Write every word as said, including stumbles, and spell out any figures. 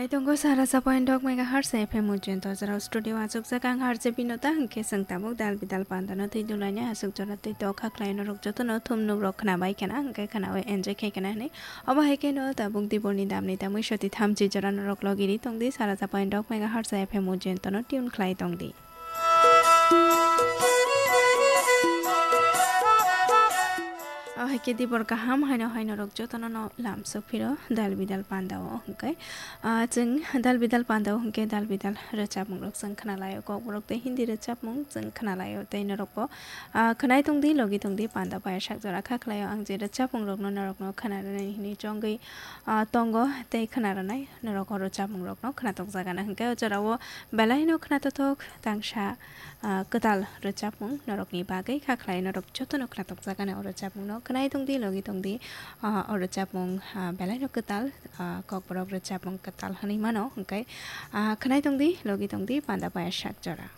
Tongo sara sapoin dok mega hertz F M ujento jora studio achuk jak ang harje binota hwnkhe chwng tabuk dal bidal pandano twi dulaina achuk jora twi tokha khlai norok jotono thum nuk rok khna bai khana hwnkhe khnawi enjoy khai khana hwnwi. Obo hai kheno tabuk diborni damni tamwi soti thamchi jora norok logiri tongdi sara sapoin dok mega hertz F M ujento no tune khlai tongdi. O hai khe dibor kaham haino haino rok jotono no lamsok phiro dal bidal panda o hwnkhe, ah, chwng dal bidal panda o hwnkhe dal bidal rwchapmung rok chwng khna lai o, kokborok tei Hindi rwchapmung chwng khna lai o tei norok bo, ah, khwnai tongdi logi tongdi panda bai sak jora kha khlai o. Ang je rwchapmung rok no norok no khna rwnai hwnwi chongwi, ah, tongo tei khna rwnai norok o rwchapmung rok no khna tokjagana hwnkhe o jora o belai no khna tothok tangsa, ah, kwtal rwchapmung norokni bagwi kha khlai norok jotono khna tokjagana o rwchapmung no khwnai tongdi logi tongdi, ah, o rwchapmung, ah, belai no kwtal, ah, kokborok rwchapmung kwtal hwnwi mano hwnkhe, ah, khwnai tongdi logi tongdi panda bai sak jora.